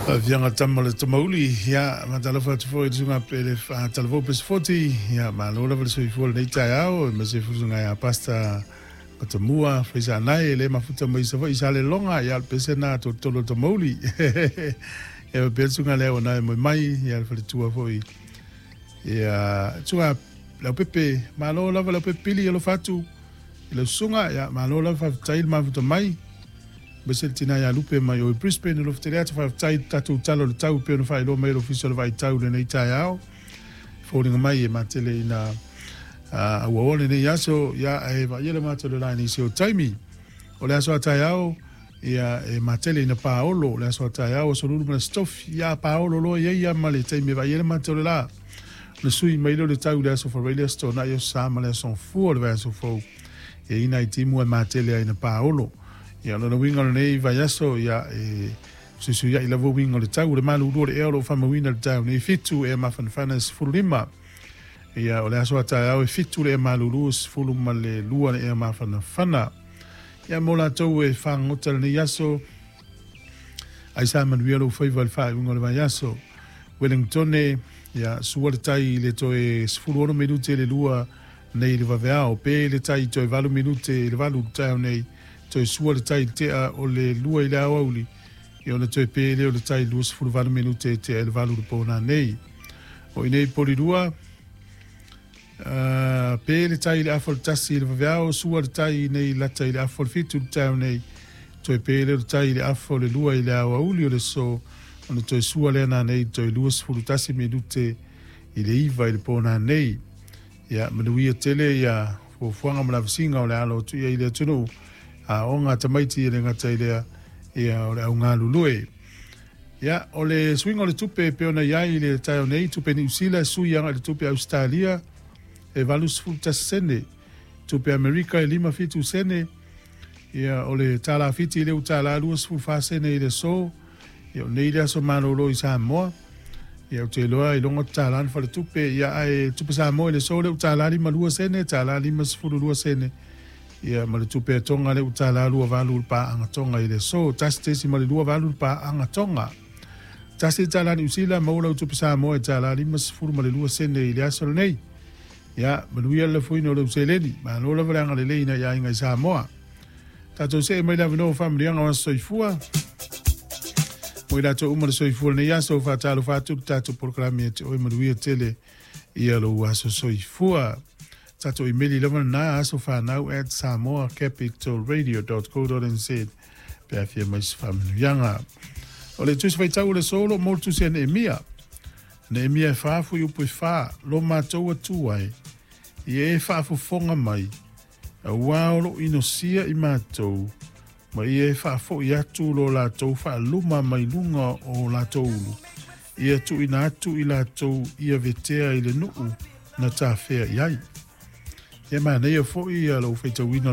Faafiaga tama le Tamauli, ia, faatalofa atu foi i le susuga Pele Talavou Pesefoti, ia, malo lava le soifua i lenei taeao, aemaise foi le susuga ia Pastor Matamua Faisaanae, e le mafuta mai Savaii Saleloga, ia, o le pese lena a Tolotolo le Tamauli. Ia, faapea le susuga lea ua moe mai, ia, le faletua foi, ia, susuga Leaupepe, malo lava Leaupepe Pili, alofa atu i lau susuga, ia, malo lava faafetai le mafuta mai. Aemaise le tina ia Lupe mai o i Brisbane, alofa tele atu, faafetai i le tatou tala o le tau e pei ona faailoa mai e le Ofisa o le Vaai Tau i lenei taeao. E foliga mai e matele ina auaoa lenei aso, ia ae vaaia le mata o le la i nisi o taimi. O le aso a taeao, ia e matele ina paolo, o le aso a taeao, aso lulu ma le aso tofi, ia paolo loa i ai ia ma le taimi e vaaia le mata o le la. Ona sui mai lea o le tau i le aso Faraile, aso Toonai, aso Sa ma le aso Gafua o le vaiaso fou. E i ai nai timu e matele ai ina paolo. Ia, o lona uiga o lenei vaiaso, ia, e fesuisuiai lava uiga o le tau. O le malulu o le ea o lo o faamauina i le taeao nei, e 7 ea mafanafana e 15. Ia, o le aso a taeao e 7 le ea malulu, e 12 le ea mafanafana. Ia, mo latou e fagota i lenei aso, ai sa manuia lou faiva i le faaiuga o le vaiaso. Wellingtone, ia, sua le tai i le toe 16 minute i le 2 nei i le vaveao. Pe le tai toe 8 minute i le 8 i le taeao nei, toe sua le tai i le tea o le 2 i le aoauli, ia ona toe pe lea o le tai i le 28 minute i tea i le 8 i le po nanei. O i nei Polilua, pe le tai i le afa o le 1 i le vaveao, sua le tai nei lata i le afa o le 7 i le taeao nei, toe pe lea o le tai i le afa o le 2 i le aoauli o le aso, ona toe sua lea nanei toe 21 minute i le 9 i le po nanei. Ia manuia tele ia fuafuaga ma lavasiga o le alo atu i ai i le atunuu, aoga tamaiti e le gata i lea, ia o le au galulue. Ia, o le suiga o le tupe e pei ona i ai i le taeao nei, tupe Niu Sila e sui agai i le tupe Ausetalia e 81 sene, tupe Amerika e 57 sene, ia o le tālā Fiti i le $1 24 sene i le aso, ia o nei le aso malolo i Samoa. Ia ou te iloa iloga o le $1 le faletupe, ia ae tupe Samoa i le aso lea ua $1 52 sene, $1 52 sene. Ia ma le tupe a Tonga lea ua $1.28 le paaga Tonga i le aso, 1.28 le paaga Tonga. $1 Niu Sila maua lau tupe Samoa e $1.52 sene i le aso lenei. Ia, manuia le lafoina o lou seleni. Malo lava le agalelei i nai aiga i Samoa. Tatou see mai le avanoa o faamanuiaga o aso soifua. Mo i latou uma le soifua lenei aso, faatalofa atu le tatou polokalame ia te oe manuia tele ia lou aso soifua. Tatou imeli lava lena asofanau@samoacapitalradio.co.nz pe a fia mai se faamanuiaga. O le tusi faitau o le aso o lo o mo le tusi a Neemia. Neemia e 4 fuaiupu e 4, lo matou Atua e, ia e faafofoga mai, auā o lo o inosia i matou, ma ia e faafoi atu lo latou faaluma mai luga o latou ulu, ia tuuina atu i latou ia vetea i le nuu na tafea i ai. Ia manaia foi lou faitauina.